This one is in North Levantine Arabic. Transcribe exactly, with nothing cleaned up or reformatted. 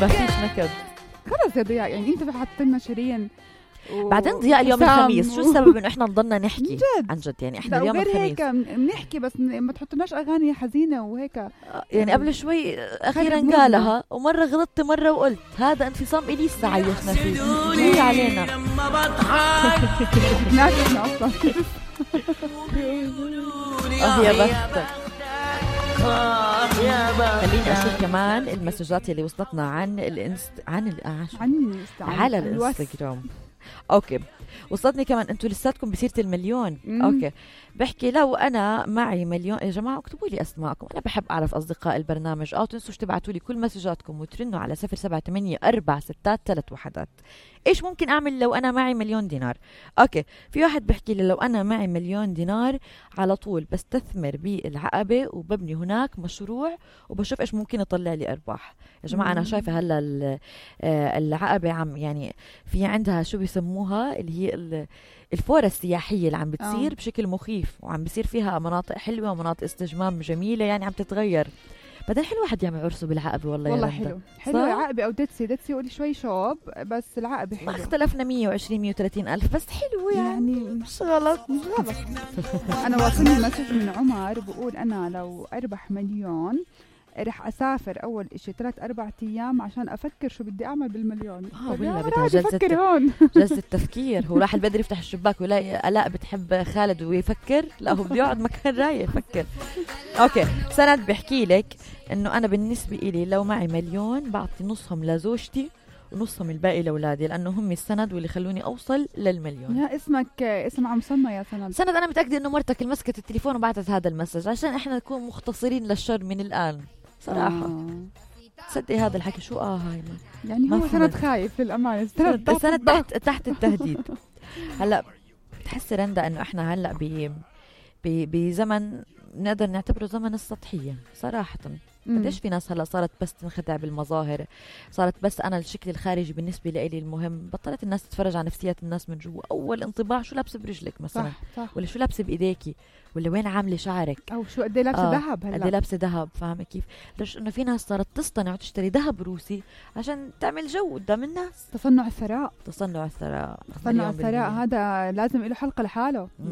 ما فيش نكد. خلص يا ضياء، يعني انت حاطط لنا شيرين و... بعدين ضياء اليوم الخميس، شو السبب انه احنا نضلنا نحكي جد. عن جد؟ يعني احنا اليوم الخميس هيك بنحكي بس ما تحطناش اغاني حزينه وهيك. يعني قبل شوي اخيرا قالها، ومره غلطت مره وقلت هذا انفصام اليسا عايشنا فيه، هي علينا ناسنا اصلا. اه يا بختك. خليني اشوف كمان المسجات اللي وصلتنا عن الانست عن ال... عن على الانستغرام. اوكي وصلتني كمان انتوا لساتكم بسيرة المليون. مم. اوكي بحكي لو انا معي مليون، يا جماعه اكتبوا لي اسماءكم، انا بحب اعرف اصدقاء البرنامج. او تنسوش تبعتوا لي كل مسجاتكم وترنوا على صفر سبعة ثمانية أربعة ستة ثلاثة وحدات. ايش ممكن اعمل لو انا معي مليون دينار؟ اوكي في واحد بحكي لي لو انا معي مليون دينار على طول بستثمر بالعقبه وببني هناك مشروع وبشوف ايش ممكن يطلع لي ارباح. يا جماعه انا شايفه هلا العقبه عم يعني في عندها شو بيسموها اللي هي الفورة السياحية اللي عم بتصير أوه. بشكل مخيف، وعم بيصير فيها مناطق حلوة ومناطق استجمام جميلة، يعني عم تتغير. بعدين حلو واحد يعمل عرسه بالعقبة. والله والله حلو حلو عقبة أو دتسي دتسي قولي شوي شوب، بس العقبة حلو. ما اختلفنا مية وعشرين مية وثلاثين ألف بس حلو يعني, يعني مش غلط مش غلط. أنا واصلني مسج من عمر بقول أنا لو أربح مليون رح أسافر أول إشي ثلاث أربع أيام عشان أفكر شو بدي أعمل بالمليون. آه ولا بدها جلسة هون. جلسة تفكير. هو راح البدري يفتح الشباك ويلاقي آلاء بتحب خالد ويفكر، لا هو بده يقعد مكان رايق يفكر. أوكي سند بحكي لك إنه أنا بالنسبة إلي لو معي مليون بعطي نصهم لزوجتي ونصهم الباقي لأولادي، لأنه هم السند واللي خلوني أوصل للمليون. يا اسمك اسم عم سمى يا سند. سند أنا متأكدة إنه مرتك مسكت التليفون وبعتت هذا المسج عشان إحنا نكون مختصرين للشر من الآن صراحة. آه. تصدقي هذا الحكي شو اه هاي يعني هو سند خايف للأمانة، سند, سند تحت تحت التهديد. هلا بتحسي رندا انه احنا هلا ب بزمن نقدر نعتبره زمن السطحية صراحة. قديش في ناس هلا صارت بس تنخدع بالمظاهر، صارت بس انا الشكل الخارجي بالنسبه لي المهم، بطلت الناس تتفرج على نفسيات الناس من جوا. اول انطباع شو لابسه برجلك مثلا، صح صح. ولا شو لابسه بايديكي، ولا وين عامله شعرك، او شو قد ايه لابسه ذهب. آه. هلا قد ايه لابسه ذهب، فاهمه كيف؟ ليش انه في ناس صارت تصطنع وتشتري ذهب روسي عشان تعمل جو قدام الناس. تصنع الثراء، تصنع الثراء تصنع الثراء هذا لازم له حلقه لحاله.